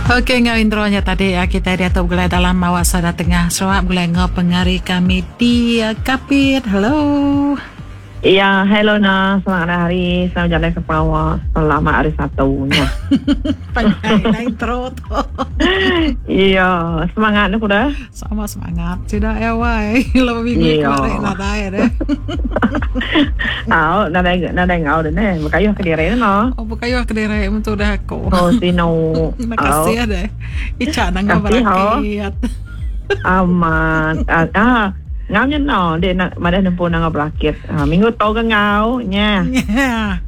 Okey enggau intro nya tadi kitai diatu begulai dalam awak sada tengah Sarawak begulai enggau pengari kami di Kapit. Hello. Iya, hello na, selamat hari, selamat jalai ke pengawa, selamat hari Satu nya. Panjai dah intro tu. Iya, semangat ne kuda. Sama semangat sida ya wai. Lalu minggu Iya. kemarin nadai deh. Au, nadai nadai ngau deh ne, bekayuh kediri ne no. Oh, bekayuh kediri mentu dah aku. Oh, sinu. Terima Au. kasih deh. Icha nangga Kasih, ho. berakit. Amat. Ah, ah. Ngau nya no, dek nak madah nempu nangga berakit. Ah, minggu tu ke ngau nya. Nya.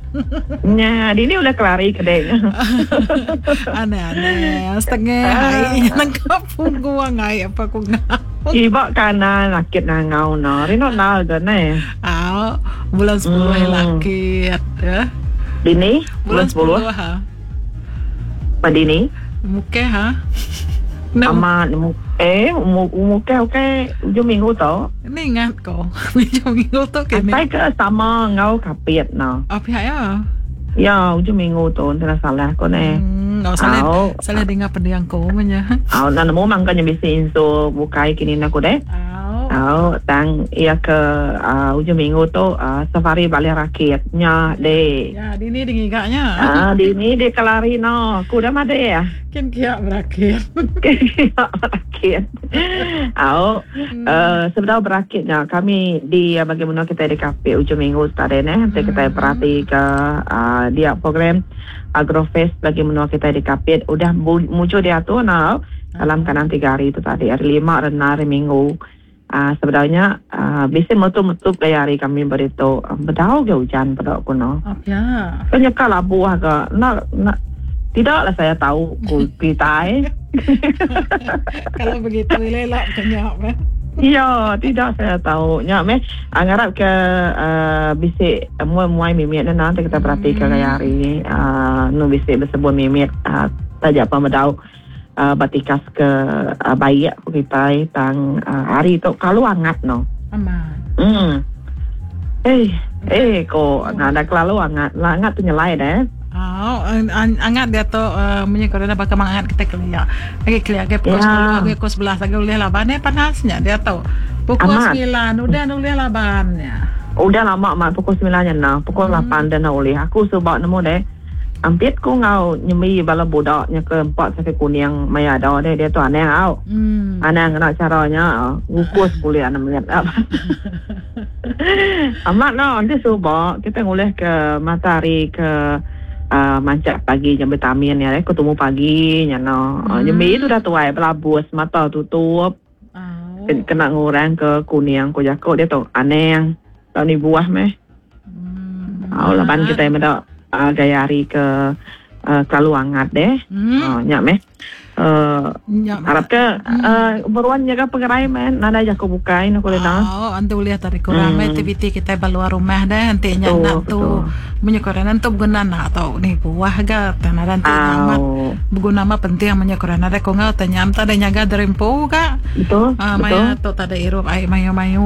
Nya, dini udah kelari ke dek. Aneh-aneh. Setengah Ah. ai nangka punggung ai apa ku ngau. Kiba kanan rakit nangau no. Rino nal ke ne. Au, bulan 10 lakit ya. Dini Bulan bulan 10. 10 ha. Pa dini. Mukeh ha. Nemu. Amat nemu eh mukeh ukai ujung minggu tu. Ni ingat ko. Ujung minggu tu kini. Asai ke sama enggau kapit no. Oh pihak ya. Ya ujung minggu tu enti enda salah ko neh. Hmm, oh, salah Au. salah dengar pendiang ko menya. Au enda nemu mangka nya bisi insu bukai kini enda ku deh. Au. Au tang iya ke uh, ujung minggu tu uh, safari balih rakit nya deh. Ya, dini dingiga nya. Ah, dini dia kelari no. Ku dah madih. Kin kia berakit. Kin kia berakit. Au, uh, sebedau berakit nya kami di uh, bagi menua kita di Kapit ujung minggu tadi neh enti kita perhati ke uh, dia program Agrofest bagi menua kita di Kapit udah mujur diatur nah dalam kandang tiga hari tu tadi hari lima rena hari minggu. Uh, sebedau nya uh, bisi metup-metup gaya hari kami beritu uh, bedau ge ujan peda ku no. Oh, ya. Kan nyeka labuh ga nak nak tidaklah saya tahu ku kitai. Kalau begitu elok kenyap eh. Ya, tidak saya tahu. Nya meh uh, ngarap ke uh, bisi muai-muai mimit ne nanti kita perhati ke gaya hari uh, nu bisi bersebun mimit uh, taja pa bedau uh, ba tikas ke uh, baik ku kitai tang uh, hari tu kalu angat no. Amat. Eh, eh ko nada kelalu angat. Lah angat tu nyelai deh. Oh, angat dia tu uh, munyi ko baka mangat kita kelia. Agi kelia ke pukul Ya. 10 agi pukul 11 agi ulih laban eh panasnya dia tu. Pukul Amat. 9 udah ulih labannya. Udah lama mat pukul 9 nya nah, pukul 8 dah nak ulih. Aku suba nemu deh. Ampit ku ngau nyembi bala budak nya ke empat sakit kuning maya ada deh dia tu anang au. Anang ngena caranya ngukus kulit anak mit. Amat no nanti suba kita ngulih ke matahari ke uh, mancak pagi jam vitamin ya ko tumu pagi nya no. Nyembi tu dah tuai belabus mata tutup. Oh. Kena ngurang ke kuning ko jako dia tu anang. Tau ni buah meh. Au laban kita meda uh, gaya hari ke uh, kelalu angat deh. Nya meh. Nya Harap ke uh, beruan jaga pengerai meh nadai jaku bukai no kulina. Oh, antu ulih tadi kurang aktiviti kita ba luar rumah deh enti nya nak tu munyi ko orang tu beguna nak tau ni buah ga tang nadai enti amat beguna amat penting munyi ko orang nadai ko enggau tanya am tadi nyaga diri empu ga. Betul. Ah, maya tu tadi irup ai mayu-mayu.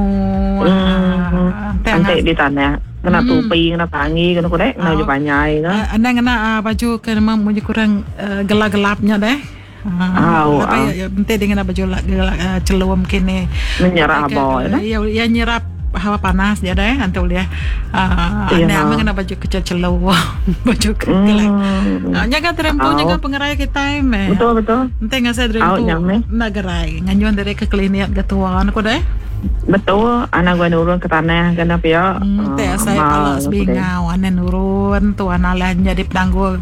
Enti di tanah kena tupi kena pangi kena kudek kena baju panjai ke. Anang kena baju ke memang munyi kurang gelap-gelap nya deh. Au, Apa au. ya, enti dia ngena baju gelap celum kini. Menyerap haba ya. Ya, ya nyerap hawa panas dia deh antu ulih. Ya. Anang ngena baju kecil celum, baju gelap. Nyaga terempu nyaga pengerai kita meh. Betul betul. Enti ngasai Au terempu nyam meh. nak gerai. Nganyuan dari ke klinik ke tuan aku deh. Betul, anak gua nurun ke tanah kena pia. Teh saya pala sebingau anak nurun tuan alah jadi penanggul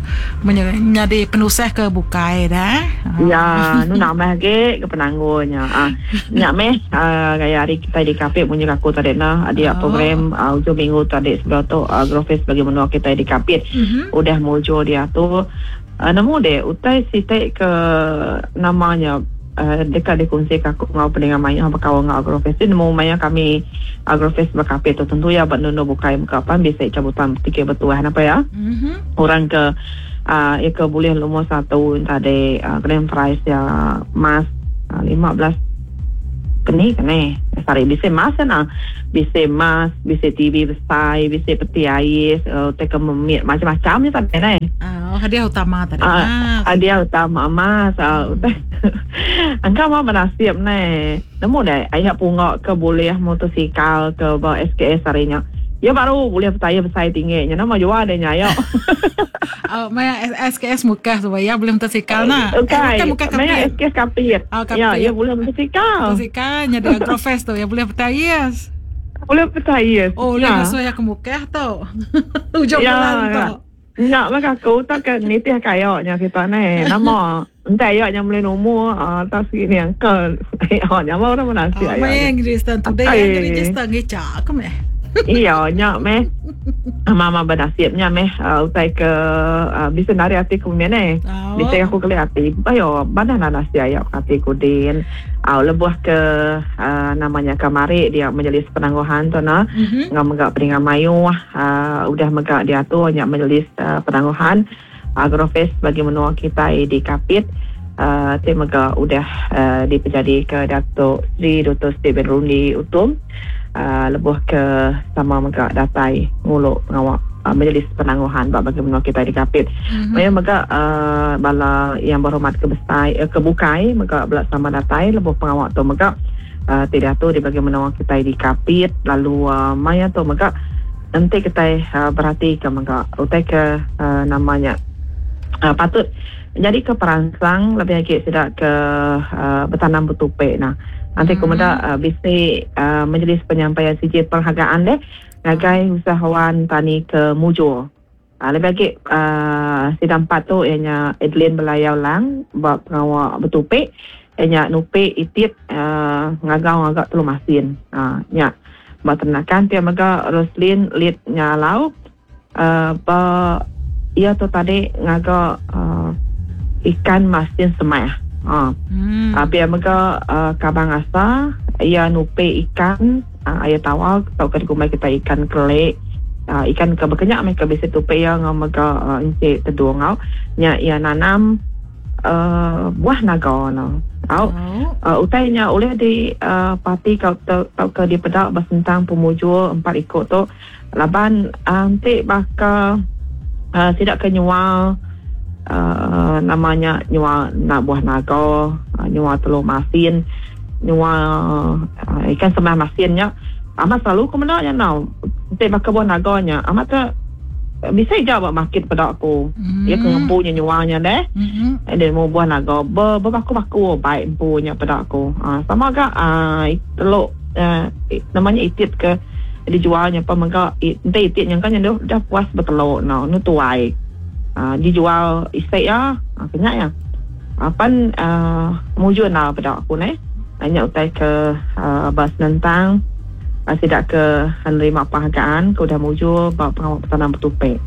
jadi penusah ke bukai dah. Ya, nu nambah lagi ke penanggulnya. Ah, nyak meh gaya hari kita di Kapit munyi aku tadi nah dia program ujung minggu tadi sebelah tu Agrofest bagi menua kita di Kapit. Udah muncul dia tu nemu deh utai sitik ke namanya dekat dikongsi ke aku ngau pendengar maya bekaul ngau Agrofest tu nemu maya kami Agrofest bekapit tu tentu ya bak nunu bukai muka pan bisa cabutan tikir bertuah apa ya. Orang ke ya ke boleh nombor 1 tadi grand prize ya mas 15 keni kene sorry bisa mas nah bisa mas bisa TV besar bisa peti air teka memit macam-macam ni tadi ne. Oh, hadiah utama tadi. Ah, hadiah utama emas. Ah, Engka mah benasib neh. Nemu deh aya punga ke bulih motosikal ke ba SKS hari nya. Ya baru bulih betayar besai tinggi nya nama jual deh nya ayo. Oh, maya SKS Mukah tu ya bulih motosikal na. Bukan, eh, bukan maya SKS Kapit. Oh, Kapit. Ya, ya bulih motosikal. Motosikal nya di Agrofest tu ya bulih betayar. Boleh percaya. Oh, boleh ya. ngasuh ya ke Mukah tu. Ujung ya, bulan tu. Nya mah aku tak ke nitih kaya nya kita ni. Nama ente ayo nya boleh nomor ah tak sini uncle. Ayo nya mah orang menasi ayo. Mai yang register tu deh yang register ngica aku meh. Iya nya meh. Mama bernasib nya meh utai ke bisa nari ati ku meh ni. Bisa aku keli ati. Ayo banah nasi ayo ati ku din. Au lebuh ke nama nya kamari dia majlis penangguhan tu nah. Enggau mega peninga mayuh udah mega diatur nya majlis penangguhan Agrofest bagi menua kitai di Kapit ti mega udah dipejadika Datuk Seri Doktor Stephen Rundi Utom lebuh ke sama mega datai ngulu pengawa majlis penangguhan ba bagi menua kitai di Kapit. Mayuh mega bala yang berhormat ke besai ke bukai mega bela sama datai lebuh pengawa tu mega ti diatur di bagi menua kitai di Kapit lalu maya tu mega enti kitai beratika mega utai ke nama nya patut nyadika peransang lebih agi sida ke betanam betupi nah. Enti ku meda bisi majlis penyampaian sijil penghargaan deh ngagai usahawan tani ke mujur. Lebih agi sida empat tu iya nya Adeline Belayau Lang ba pengawa betupi iya nya nupi itit ngagau ngaga telu masin. Nya ba ternakan pia mega Roslin Lit Nyalau ba iya tu tadi ngaga ikan masin semah. Pia mega Kabang Asa iya nupi ikan. Air tawar tauka dikumbai kitai ikan kelik. Ikan ke baka nya meh ke bisi tupi iya enggau mega encik tedung au. Nya iya nanam buah naga ne. Au utai nya ulih di parti tauka dipeda ba sentang pemujur empat iku tu laban enti baka sida ke nyual nama nya nyual buah naga, nyual telur masin. Nyua ikan sembah masin nya amat selalu ku meda nya enggau enti baka buah naga nya amat te bisi ja ba market peda ku iya ke ngempu nya nyua nya deh dia nemu buah naga be bebaku-baku bai empu nya peda ku uhh sama ga uhh telu uhh nama nya itit ke dijual nya pun mega enti itit nya engka nya udah puas betelu ne anu tuai uhh dijual isi iya ke nya iya. Pan mujur enda peda aku neh. Nya utai ke ba senentang sida ke nerima penghargaan ke udah mujur ba pengawa betanam betupi.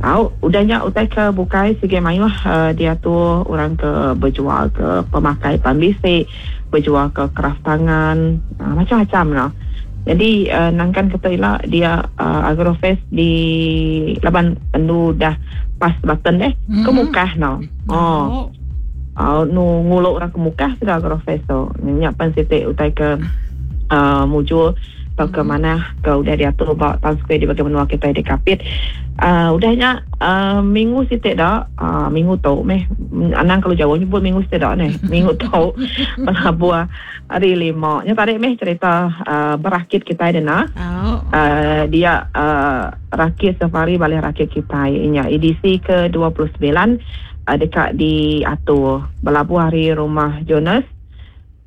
Au udah nya utai ke bukai sigi mayuh diatur orang ke bejual ke pemakai pan bisi, bejual ke kraf tangan macam-macam lah. Jadi nangkan ke tu ila dia Agrofest di laban endu dah pas button deh ke Mukah no. Oh. Oh nu ngulu orang ke Mukah sida Agrofest tu. Nya pan siti utai ke uh, mujur tauka manah ke udah diatur ba Town Square di bagi menua kitai di Kapit. Uh, udah nya uh, minggu siti da uh, minggu tu meh anang kelalu jauh nyebut minggu siti da neh. Minggu tu pelabuh Hari lima nya tadi meh cerita uh, berakit kitai dena. Oh. Uh, dia uh, rakit safari balih rakit kitai nya edisi ke 29 uh, deka diatur belabuh ari rumah Jonas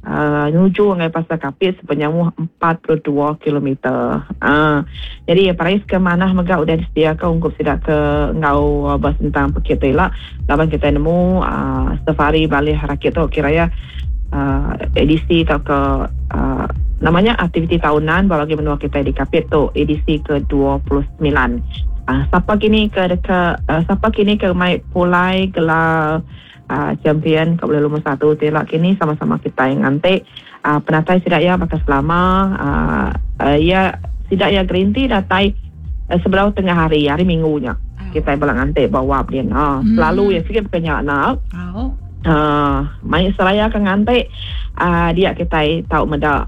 uh, nuju ngagai pasar Kapit sepenyauh 42 kilometer. Uh, jadi perais ke manah mega udah disediaka ungkup sida ke enggau uh, besentang pekit tu ila laban kitai nemu uh, safari balih rakit tu kira ya edisi tauka nama nya aktiviti tahunan ba bagi menua kitai di Kapit tu edisi ke 29. Sapa kini ke deka sapa kini ke mai pulai gelar champion ke bulih lumur satu ti ila kini sama-sama kitai nganti penatai sida iya baka selama iya sida iya gerinti datai sebedau tengah hari hari minggu nya kitai bala nganti ba wap din. Selalu iya sigi baka nya enda. Mai seraya ke nganti dia kitai tau meda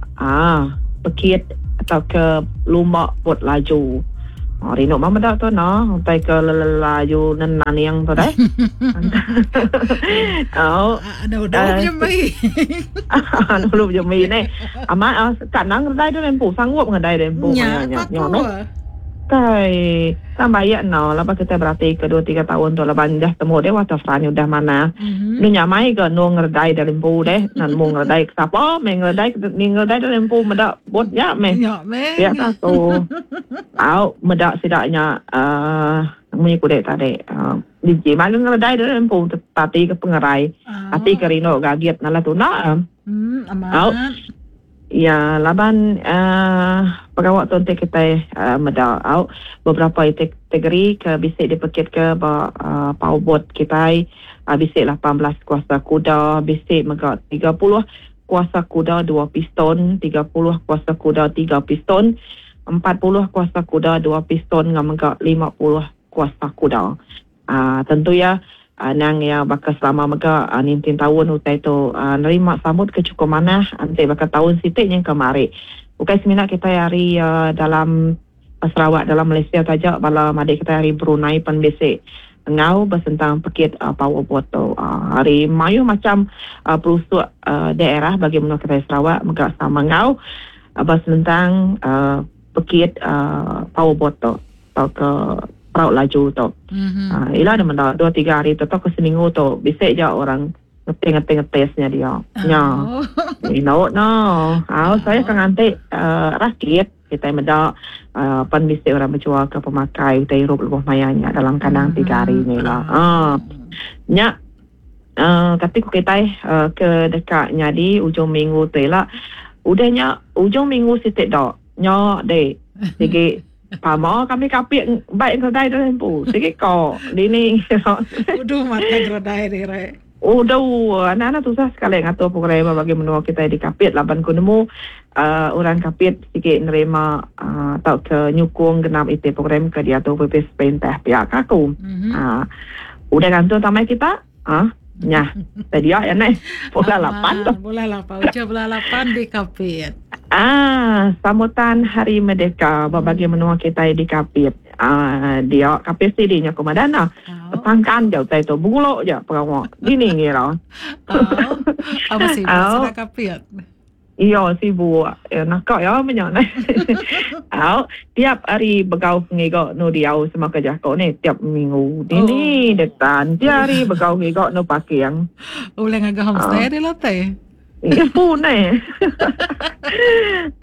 pekit tauka lumba bot laju. Oh, rindu mah meda tu no, utai ke lelelayu nenaning tu deh. Oh. Ada udah jembi. Dulu jembi ni. Amat ah kat nang ngedai tu empu sanggup ngedai tu empu maya nya. Nya meh. Kai tang bayak no laban kita berati ke 2 3 tahun tu laban dah temu deh waterfront udah manah. Nu nyamai ga nu ngeredai dari empu deh. Nan mu ngeredai ke sapa meh ngeredai ni ngeredai dari empu meda bot nya meh. Nya meh. Pia ka aku. Au meda sida nya uhh munyi ku dek tadi uhh biji mah ngeredai dari empu tati ke pengerai. Ati ke rindu gagit nalah tunda. Amat. Au. Ya laban uhh pengawa tu enti kitai uhh meda au beberapa iti kategori ke bisi dipekit ke ba uhh powerboat kitai uhh bisi 18 kuasa kuda bisi mega 30 kuasa kuda dua piston, 30 kuasa kuda tiga piston, 40 kuasa kuda dua piston enggau mega 50 kuasa kuda. Aaa tentu iya anang iya baka selama mega ninting taun utai tu nerima sambut ke chukup manah enti baka taun siti nyengka mari. Ukai semina kitai ari dalam Sarawak dalam Malaysia taja bala madik kitai ari Brunei pen bisi enggau besentang pekit power boat tu. Ari mayuh macham perusuk daerah bagi menua kitai Sarawak mega sama enggau besenentang pekit power boat tu. Tauka perau laju tu. Mm-hmm. Uh, ila dia menda dua tiga hari tu tauka seminggu tu bisi ja orang ngetih ngetih ngetis nya dia. Nya. Oh. Ino no. Ah, oh. saya akan nganti uh, rakit kita meda uh, pan bisi orang berjual ke pemakai utai hirup lebuh maya nya dalam kandang mm-hmm. tiga hari ni lah. Ah. Nya uh, kati ku kitai uh, ke deka nyadi ujung minggu tu ila. Udah nya ujung minggu siti dok. Nya dek sigi Pama kami kapit baik ngeredai diri empu. Sigi ko dini. Udu mata ngeredai diri. Udu anak-anak tusah sekali ngatur program bagi menua kitai di Kapit laban ku nemu uh, orang Kapit sigi nerima uh, tauka nyukung genap iti program ke diatur Opis Perintah pia ka aku. Mm-hmm. Uh, udah gantung tamai kita. Ah, nyah. Tadi ya neh. Bola lapan tu. Bola lapan. Ucap bola lapan di Kapit. Ah, sambutan Hari Merdeka bagi menua kita di Kapit. Ah, dia Kapit sidi nya ku madana. Oh. Pangkan je utai tu. Bengulok je pengawa. Dini ngira. Oh. Apa sih? Oh. Kapit. Iya sibuk. Ya, naka ya menya neh. Au, tiap hari begau ngiga nu diau sama ke jako ni tiap minggu. Dini oh. detan tiap hari begau ngiga nu parking. Ulih ngaga homestay uh. di latai. Ya pun neh.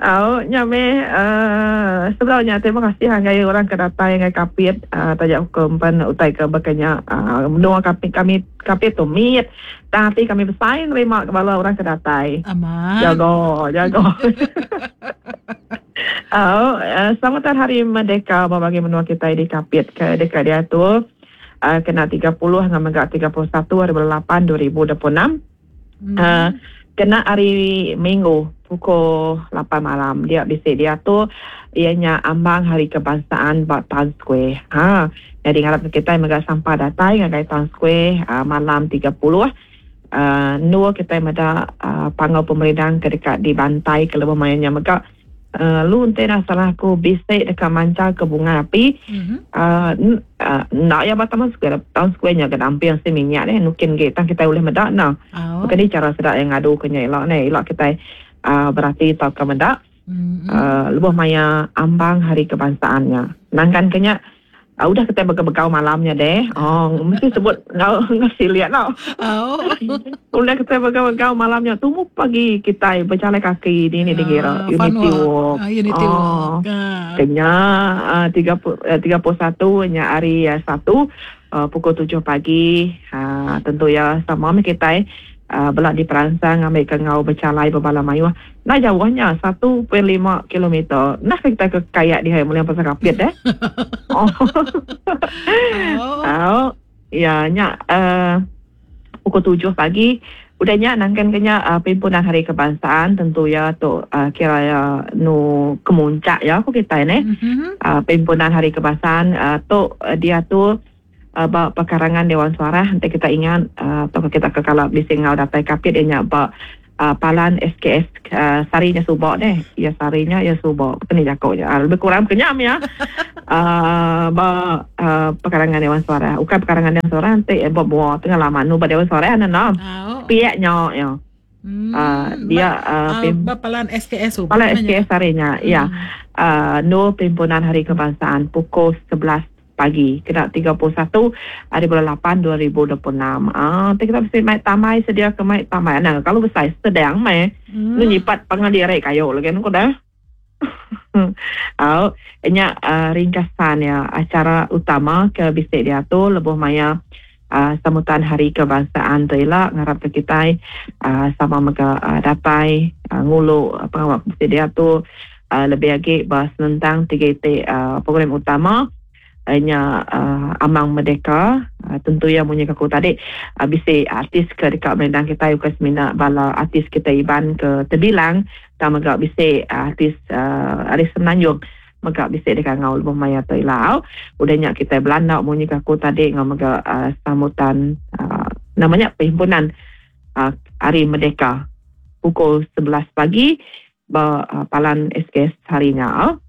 Au, nya meh uh, sebenarnya terima kasih ngagai orang ke datai ngagai Kapit uh, taja hukum pen utai ke bakanya uh, menua Kapit kami Kapit tu mit. Tang ati kami besai nerima ke bala orang ke datai. Amat. Jago, jago. Au, uh, sambutan Hari Merdeka ba bagi menua kitai di Kapit ke deka diatur uh, kena 30 enggau mega 31 hari bulan 8 2026. Mm. Uh, kena hari Minggu pukul 8 malam dia bisi diatur iya nya ambang Hari Kebangsaan ba Town Square. Ha, Nyadi ngarap ke kitai mega sampah datai ngagai Town Square malam 30 endur kitai meda panggau pemerindang ke deka dibantai ke lebuh maya nya mega lalu enti enda salah aku bisi deka manchal ke bungai api enda iya ba Taman Square Town Square nya ga damping si minyak deh nukin agi tang kitai ulih meda ne. Baka ni chara sida iya ngadu ke nya ila neh ila kitai berati tauka meda. Lebuh maya ambang Hari Kebangsaan nya. Nangkan ke nya udah kitai begau-begau malam nya deh. Oh mesti sebut enggau enggau silik tau. Oh. Udah kitai begau-begau malam nya tumu pagi kitai bejalai kaki dini dikira Unity Walk. Unity Walk. Ke nya 31 nya hari Satu pukul 7 pagi tentu iya sama meh kitai bela diperansang ngambika enggau bechalai bebala mayuh. Enda jauh nya, 1.5 kilometer. Nah ke kitai ke kayak dihai muling pasal Kapit deh. Oh. Oh. Ya nya uh, pukul 7 pagi. Udah nya nangkan ke nya uh, Perhimpunan Hari Kebangsaan tentu ya tu uh, kira ya nu kemuncak ya ku kitai neh. Mm-hmm. Uh, Perhimpunan Hari Kebangsaan uh, tu uh, diatur uh, ba pekarangan Dewan Suarah enti kita ingat uh, atau kita ke kala bisi enggau datai Kapit iya nya ba. Palan SKS sehari nya suba deh. Iya sehari nya iya suba. Keni jaku nya. Lebih kurang kenyam iya. Ba pekarangan Dewan Suarah. Ukai pekarangan Dewan Suarah enti ba mua tengah laman nu ba Dewan Suarah ne no. Sepiak nya iya. Dia ba palan SKS suba. Palan SKS sehari nya iya. Endur Perhimpunan Hari Kebangsaan pukul 11 pagi kena 31 hari bulan 8 2026. Ah, ti kita bisi mai tamai sedia ke mai tamai anang kalau besai sedang meh. Hmm. Nu nyipat pangan diri kayu lagi nu dah. Au, nya uh, ringkasan ya acara utama ke bisi diatur lebuh maya uh, sambutan Hari Kebangsaan tu ila ngarap ke kitai uh, sama mega uh, datai uh, ngulu uh, pengawa ke bisi diatur uh, lebih agi ba senentang tiga iti uh, program utama uh, nya uh, Amang Merdeka uh, tentu iya munyi ke aku tadi uh, bisi artis ke deka merindang kitai bukan semina bala artis kitai Iban ke terbilang tang mega bisi uh, artis uh, ari Semenanjung mega bisi dikangau lebuh maya tu ila au. Udah nya kitai belanda munyi ke aku tadi enggau mega uh, sambutan uh, nama nya perhimpunan uh, Hari Merdeka pukul 11 pagi ba uh, palan SKS hari nya au.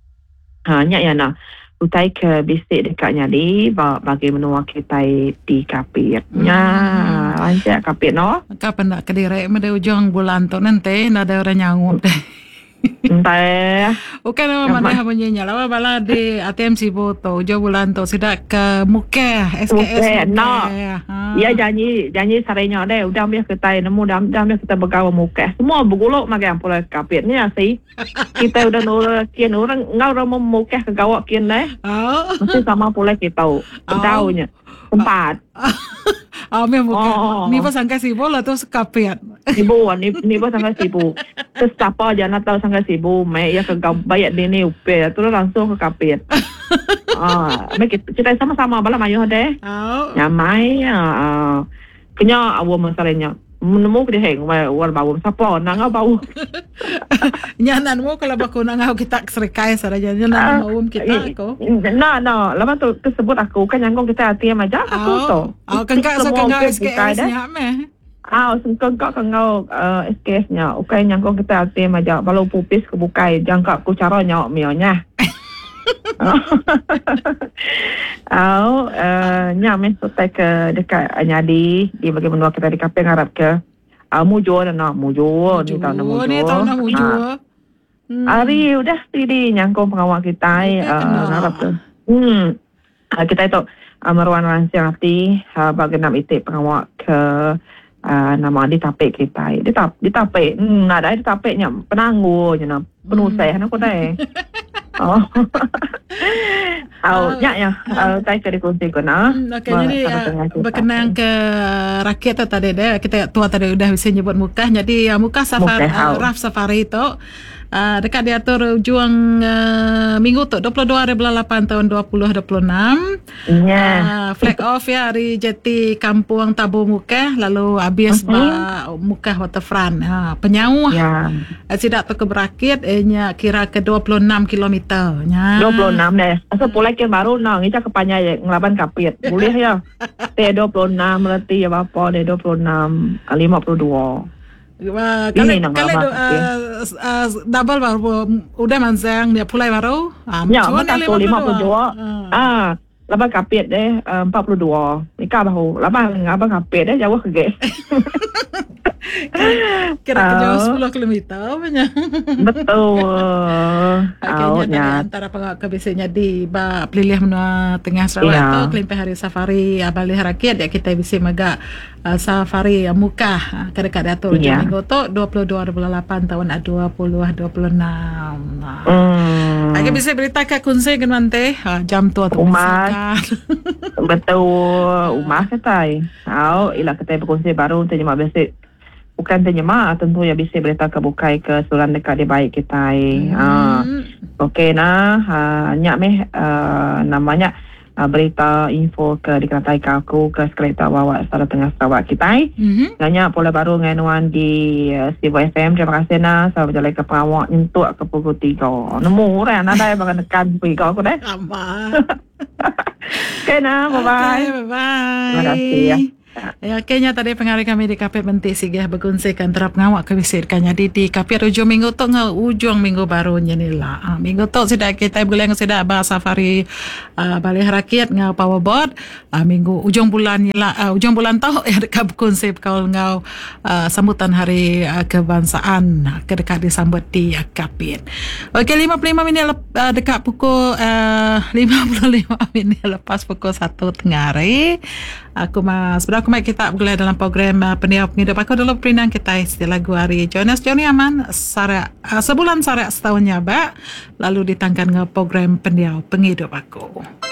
Ha nya iya nah utai ke bisi deka nyadi ba bagi menua kitai di Kapit. Nya rancak Kapit no. Ka penda kediri meda ujung bulan tu nanti nadai orang nyangup deh. Entah. Bukan nama manah munyi nya lawa bala di ATM Sibu tu ujung bulan tu sida ke Mukeh SKS Mukeh. No. Ha. Ya janji janji sarinya deh udah mih kitai nemu dah dah mih kitai begawa Mukeh. Semua begulu magang pulai Kapit ni asi. Kitai udah nurun kin orang enggau orang Mukeh ke gawa kin deh. Oh. Mesti sama pulai kitu. Bedau nya. Tempat. Oh, meh bukan. Oh. Ni pun sangkai Sibu lah tu Kapit. Sibu, ni ni pun sangkai Sibu. Terus siapa aja nak tahu sangkai Sibu, meh ia ke bayat dini upe, terus langsung ke Kapit. Ah, meh kita, kita sama-sama bala mayuh deh. Oh. Nyamai ah. Kenya awam masalahnya. Nemu ke diheng war bau sapa nak ngau bau. Nya nak nemu kalau baku nak ngau kita serikai saja nya nak nemu kita aku. Nah nah laban tu tersebut aku kan nyangkung kita ATM aja aku oh. tu. Oh kengkak so kengkau SKS nya meh. Ah sengkak kengkau SKS nya ukai nyangkung kita ATM aja balu pupis ke bukai jangka ku cara nya mio nya. Au nya meh utai ke deka nyadi di bagi menua kitai di Kapit ngarap ke mujur enda mujur ni tau enda mujur. Ni tau enda mujur. Ari udah stidi nyangkung pengawa kitai ngarap ke kitai tu meruan ransing ati ba genap iti pengawa ke nama ditapi kitai. Ditapi nadai ditapi nya penanggul nya penusah ne ku deh. Au nya ya utai ke dikunsi ku nah. Okey jadi bekenang ke rakit tu tadi deh kita tua tadi udah bisi nyebut Mukah jadi Mukah safari Raf Safari tu deka diatur ujung minggu tu 22 hari bulan 8 taun 2026. Nya. Flag off ya ari jeti Kampung Tabu Mukah lalu habis ba Mukah Waterfront. Ha penyauh Ya. Sida tu ke berakit iya nya kira ke 26 kilometer. Nya. 26 deh. Asal pulai kin baru enda ngicha ke panjai ngelaban Kapit. Bulih iya. Ti 26 reti iya bapa deh 26 52. Kali kali double baru udah mansang dia pulai baru. Nya meh aku 52. Ah laban Kapit deh 42. Ika bahu laban abang Kapit deh jauh agi. Kira ke jauh 10 kilometer punya. Betul. Okey nya tadi antara pengawa ke bisi nyadi ba pelilih menua tengah Sarawak tu kelimpah hari safari balih rakit dia kitai bisi mega Safari Mukah ke deka diatur ujung minggu tu 22 hari bulan 8 taun 2026. Agi bisi berita ka kunsi ke nuan ti jam tu tu Umas. Betul umas kitai. Au ila kitai bekunsi baru enti nyema bisi bukan enti nyema tentu iya bisi berita ke bukai ke seruran deka dibai kitai. Okey nah nya meh nama nya. Berita info ke dikenataika aku ke sekali tu ba awak Sada Tengah Sarawak kitai. Nanya pulai baru ngagai nuan di Sibu FM. Terima kasih nah sama bejalaika pengawa nyentuk ke pukul tiga. Nemu orang nadai baka nekan pukul tiga aku deh. Amat. Okay nah, bye bye. Okay, bye bye. Terima kasih. Ya, okey nya tadi pengari kami di Kapit Menti Sigeh bekunsi ke antara pengawa ke bisi deka nyadi di Kapit ujung minggu tu enggau ujung minggu baru nya ni ila. Ha, minggu tu sida kitai begulai enggau sida ba safari uh, Balih Rakit enggau Powerboat. Uh, minggu ujung bulan nya ila uh, ujung bulan tu iya deka bekunsi bekaul enggau uh, sambutan Hari uh, Kebangsaan ke deka disambut di uh, Kapit. Okey 55 minit lep, uh, deka pukul uh, 55 minit lepas pukul 1 tengah hari. Aku ma sebedau aku mai kita begulai dalam program uh, Pendiau Pengidup aku dulu perindang kitai siti lagu ari Jonas Johnny Aman Sarak uh, sebulan sarak setahun nyabak lalu ditangkan enggau program Pendiau Pengidup aku.